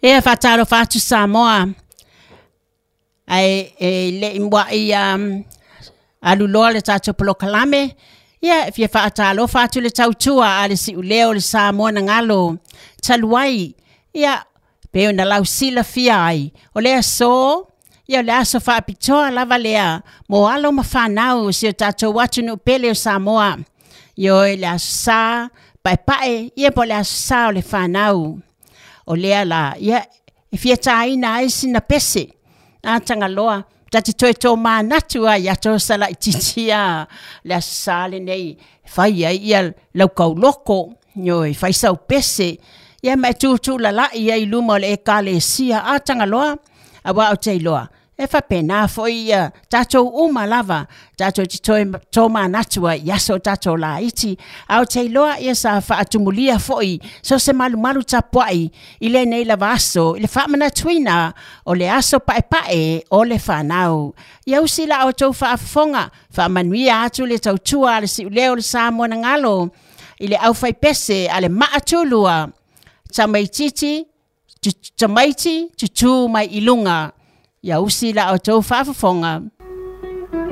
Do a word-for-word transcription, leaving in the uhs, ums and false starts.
Ia faatalofa atu Samoa, ae e le i muai um, aluloa le tatou polokalame, ia e fia faatalofa atu le tautua a le siuleo o le Samoa na galo talu ai, ia pe ona lausilafia ai o le aso, ia o le aso faapitoa lava lea mo alo ma fanau o si o tatou atunuu pele o Samoa. Ioe, le aso Sa paepae, ia po o le aso Sa o le fanau. O lea la, ia e fia taina ai sina pese a Tagaloa, ta te toe tōmanatu ai ia ato laitiiti a le aso Sa lenei, fai ai ia lau kauloko, ioe, fai sau pese, ia ma e tutulala'i ai i luma o le ekalesia a Tagaloa, auā ou te iloa e faapena foi ia tatou uma lava tatou te toe tōmanatu ai i aso o tatou laiti. Ae ou te iloa ia sa faatumulia foi so se malumalu tapuai i lenei lava aso i le faamanatuina o le aso paepae o le fanau. Ia usi la outou faafofoga, faamanuia atu le tautua a le siuleo o le Samoa na galo i le aufaipese a le Maatulua, tamaititi tamaiti tutū mai i luga. Ia usi la outou faafofoga.